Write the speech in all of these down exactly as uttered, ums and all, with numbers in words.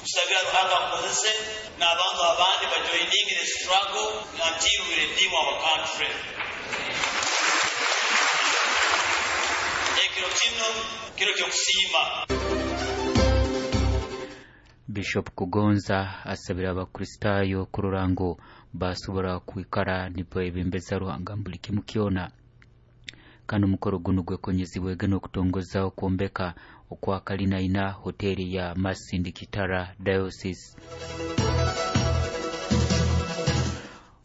Tusabira Ruhanga amukozese n'abantu abandi bajoining the struggle until we redeem our country. Ekiro kino kiro ky'okusiima. Bishop Kugonza asabira Abakristaayo kurora ngu basobora kwikara nibebembeza Ruhanga buli kimu kyona. Kandi omukoro guno gwekonyezibwege n'okutongoza okwombeka okwa kalina hoteri ya Masindi Kitara Diocese.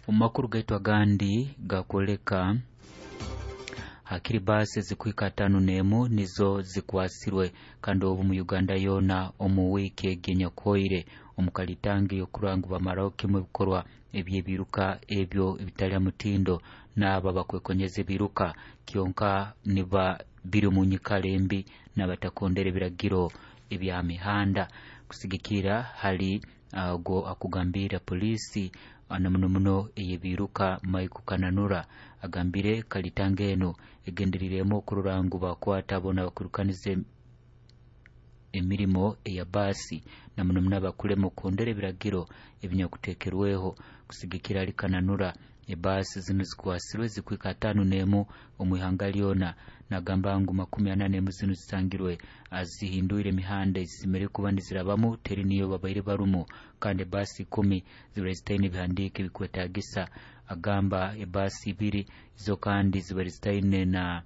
Omu makuru gaitu agandi gakwoleka hakiri baasi ezikuhika tano n'emu nizo zikwasirwe kandi obu mu Uganda yoona omu wiiki egi enyakuhoire omu kalitangi y'okurora ngu bamaraho kimu ebikorwa eby'ebiruka ebyo ebitali ha mutindo n'abo abakwekonyeza ebiruka kyonka niba biri omu nyikara embi n'abatakondera ebiragiro ebya mihanda. Kusigikira hali ogwo akugambira poliisi na muno muno ey'ebiruka, Michael Kananura, agambire kalitanga eno egenderiremu okurora ngu bakwata bona abakwirukaniza emirimo eya baasi na muno muno abakulema okuhondera ebiragiro ebinyakuteekerweho. Kusigikira hali Kananura, ebaasi zinu zikwasirwe zikuhika ataano n'emu omu ihanga lyona. Nagamba ngu makumi ana n'emu zinu zisangirwe zihindwire emihanda ezisemeriire kuba nizirabamu, teri niyo babaire barumu, kandi ebaasi ikumi zibaire zitaine ebihandiiko ebikwetagisa. Agamba ebaasi ibiri zo kandi zibaire zitaine na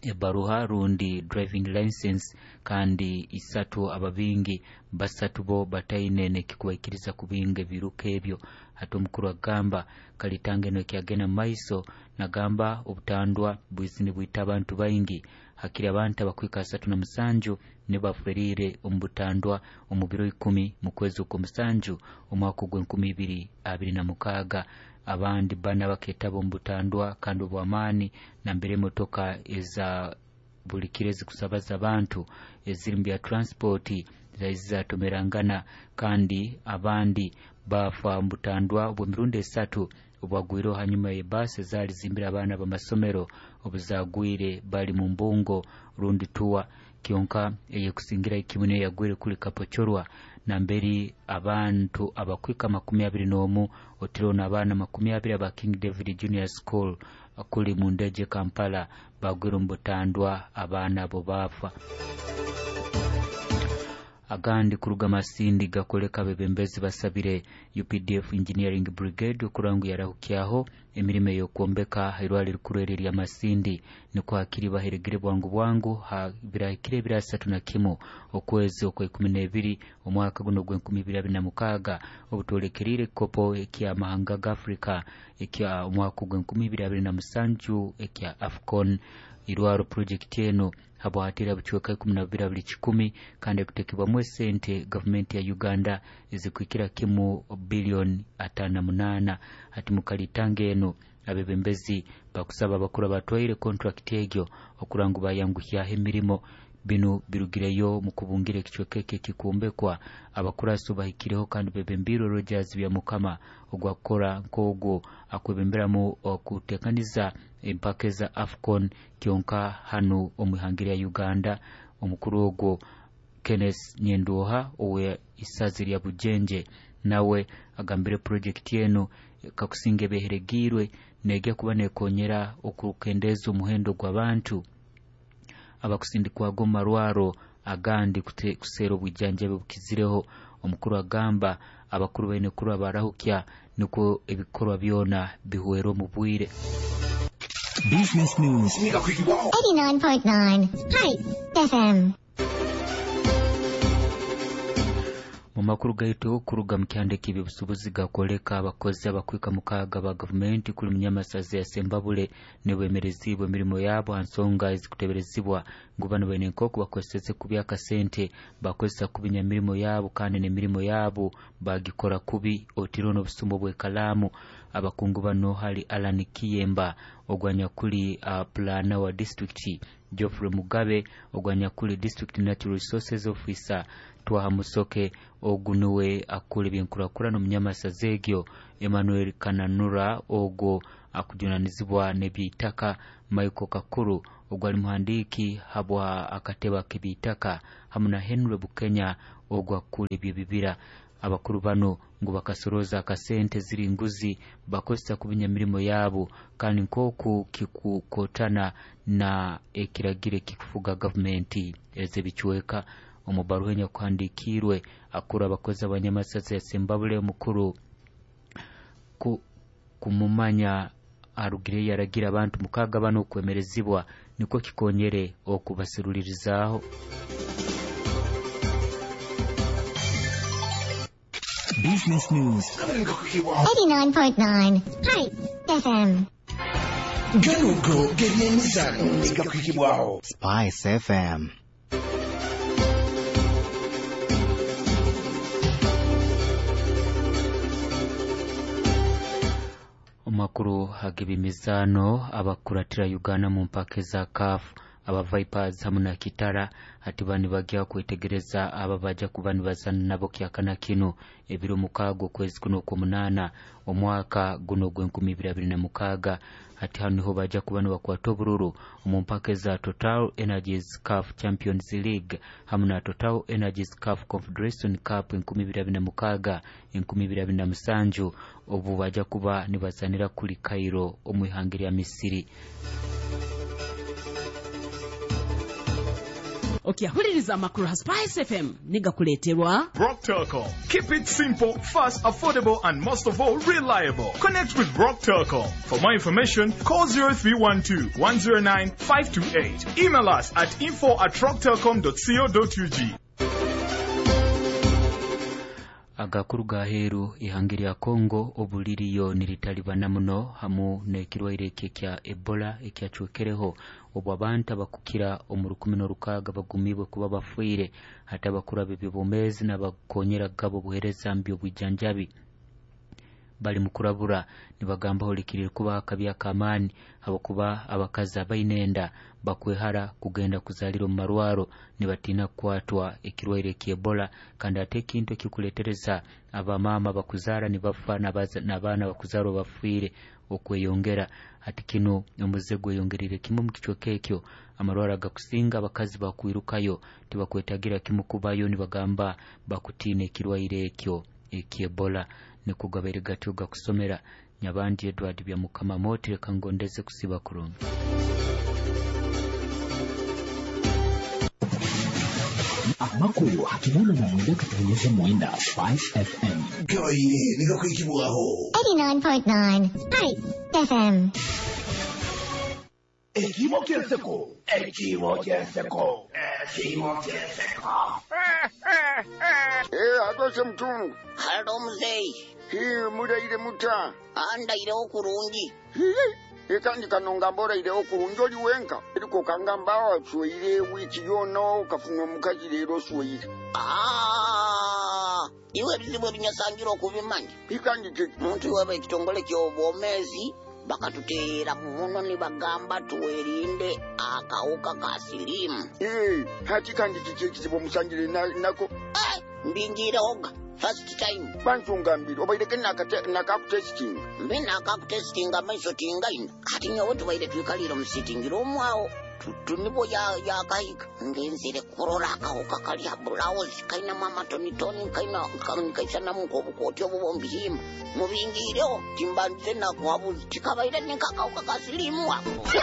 ebaruha rundi driving license, kandi isatu ababingi basatu bo bataine nekikubaikiriza kubinga ebiruka ebyo. Hati omukuru agamba kalitanga eno ekyagenda mu maiso. Nagamba obutandwa bwizi nibwita abantu baingi, hakiri abantu abakuhika asatu na musanju nibo baferire omu butandwa omu biro ikumi mu kwezi okw'omusanju omwaka ogw'enkumi ibiri abiri na mukaaga. Abandi bana baketaba omu butandwa kandi obw'amaani nambere emotoka eza buli kiro ezikusabaza abantu eziri mu bya transport zali zatomerangana, kandi abandi bafa mu butandwa obw'emirundi esatu obwagwireho hanyuma y'ebaasi ezaali zimbire abaana b'amasomero obuzagwire bali mu mbungo rundi tuwa. Kyonka eyekusingira kimu niyo yagwire kuli Kapchorwa, namberi abantu abakwika makumi abiri n'omu otireho n'abaana makumi abiri aba King David Junior School kuli mu Ndeje, Kampala, bagwire omu butandwa, abaana abo baafa. Agandi kuruga Masindi gakoleka abebembezi basabire U P D F Engineering Brigade okurora ngu yarahukyaho emirimo ey'okwombeka irwaliro rikuru eri erya Masindi, nikwo hakiri baheregere bwangu bwangu ha birahikire ebiro asatu na kimu okwezi okwa ikumi n'ebiri omwaka guno ogw'enkumi ibiri abiri na mukaaga, obutwolekerire ekikopo eky'amahanga ga Afrika ekya omwaka ogw'enkumi ibiri abiri na musanju ekya AFCON. Irwaro project eno habwahatira bucweka ikumi na bubiri buli kikumi, kandi ekutekebwamu esente gavumenti ya Uganda ezikuhikira kimu biliyoni ataano na munaana. Hati mukalitanga eno abebembezi bakusaba abakuru abatwaire contract egyo okurora ngu bayanguhyaho emirimo. Binu birugireyo mu kubungira ekicweka eki ekikumbekwa abakuraso bahikireho kandi bebembiirwe Rogers Byamukama ogwakukora nk'ogwo akwebemberamu okutekaniza empaka eza AFCON kyonka hanu omu ihanga lya Uganda. Omukuru ogwo Kenneth Nyenduha owe isazi lya Bujenje nawe agambire project eno kakusinga ebeheregiirwe negya kuba nekonyera okukendeeza omuhendo gw'abantu abakusindikwaga omu marwaro agandi kuseera obwijanjabi obukizireho. Omukuru agamba abakuru baine kurora barahukya nikwo ebikorwa byona bihwere omu bwire. Business News. eighty-nine point nine Spice F M. Mu makuru gaitu kuruga mu kyanda eky'ebyobusuubuzi gakwoleka abakozi abakwika mukaaga ba gavumenti kuli munyamasaza ya Sembabule nibemerezibwa emirimo yabo ha nsonga ezikuteberezibwa ngu bano baine nk'oku bakozeseze kubi akasente, bakozesa kubi nyamirimo yabo kandi n'emirimo yabo bagikora kubi, otireho n'obusumo bw'ekalaamu. Abakungu bano hali Alan Kiyemba ogwanyakuli uh, planner wa district, Geoffrey Mugabe ogwanyakuli district natural resources officer, Twaha Musoke ogu niwe akura ebyenkurakurana omunyamasaza egyo, Emmanuel Kananura ogwo akujunanizibwa n'ebyeitaka, Michael Kakuru ogwo ali muhandiiki habwa akatebe ak'ebyeitaka, hamu na Henry Bukenya. Ogwa kukura ebyebibira. Abakuru bano ngu bakasoroza akasente ziri nguzi bakozesa kubinya mirimo yabo, kandi nkoku kikukotana na ekiragiro kikufuga gavumenti ez'ebicweka. Omu baruha enyakuhandiikirwe akuru abakozi abanyamasasa ya Sembabule omukuru ku, kumumanya arugire yaragira abantu mukaga bano okwemerezibwa niko kikonyere okubasirulirizaaho. Business News eighty-nine point nine Spice F M. Ganugo g'ebyemizano gakuhikibwaho Spice F M. Amakuru ag'ebyemizano abakuratira Uganda mu mpaka za C A F aba Vipers hamu na Kitara ati bani bagya kwetegereza aba baja kuba nibazana nabo kyakana kino ebiro mukaaga okwezi kuno okw'omunaana omwaka guno gw'enkumi ibiri abiri na mukaaga. Ati hano niho baja kuba nibakwata obururu omu mpaka za Total Energies C A F Champions League hamu na Total Energies C A F Confederation Cup enkumi ibiri abiri na mukaaga enkumi ibiri abiri na musanju, obu baja kuba nibazanira kuli Cairo omu ihanga lya Misiri. Okyahuliriza amakuru ha Spice F M nigakuleeterwa Rock Telcom. Keep it simple, fast, affordable and most of all reliable. Connect with Rock Telcom. For more information, call zero three one two, one zero nine, five two eight. Email us at info at rocktelcom dot co dot U G. Agakuru gaheru ihanga lya Kongo obuliriyo niritalibana muno hamu n'ekirwaire ekya Ebola ekyacwekereho obu abantu abakukira omu rukumi n'orukaaga bagumibwe kuba bafiire, hati abakuru ab'ebyobwomeezi n'abakonyera gabo obuheereza mu by'obwijanjabi bali mu kurabura nibagamba holikirire kuba akabi ak'amaani habwokuba abakazi abaine enda bakwehara kugenda kuzaalira omu marwaro nibatiina kukwatwa ekirwaire ky'Ebola, kandi ate ekintu ekikuleetereza abamaama bakuzaara nibafa n'abaana bakuzaarwa bafiire okweyongera. Ati kino omuze gweyongerire kimu mu kicweka ekyo, amarwaro agakusinga abakazi bakwirukayo tibakwetagira kimu kubayo nibagamba bakutiina ekirwaire ekyo eky'Ebola. Nikugabaire gatyo gakusomera Nyabandi Edward Byamukama Moti, reka ngondeze kusiba kurungi. Amakuru hakinana na mwenda katonyeza mwenda Spice F M. Gabaire nigakuhikibwaho eighty-nine point nine Spice F M. Ekimo ky'enseko, ekimo ky'enseko, ekimo ky'enseko. Eh, atose mtungu. Halo mzee. Hii muraire muta. Andaire okurungi. Hii kandi kanonga mboraire okurungi oli wenka. Eriko kangamba wasweire wiki yona okafunwa omukazi leero osweire. Ah, iwe ebizibu ebinyasangira okubimanya. Kandi ki muntu iwe ekitongole ky'obwomeezi bakatuteera muno nibagamba tuwerinde akawuka ka siriimu. Eh, hati kandi kiki ekizibu omusangire nako? Eh, mbingiirehoga first time. Bansungambire obaireke nakakutesitinga. Mbi nakakutesitinga amaiso tingaina. Kati nyowe tubaire twikalire omu sitting room awo tunibo yakahika ngenzere kurora akawuka kali ha bulauzi kainamu amatonitoni kaisanamu nk'obukooti obuba omu bihimba mubingiireho timbandize nakuhabuzi tikabaire ninkakawuka ka siriimu ako.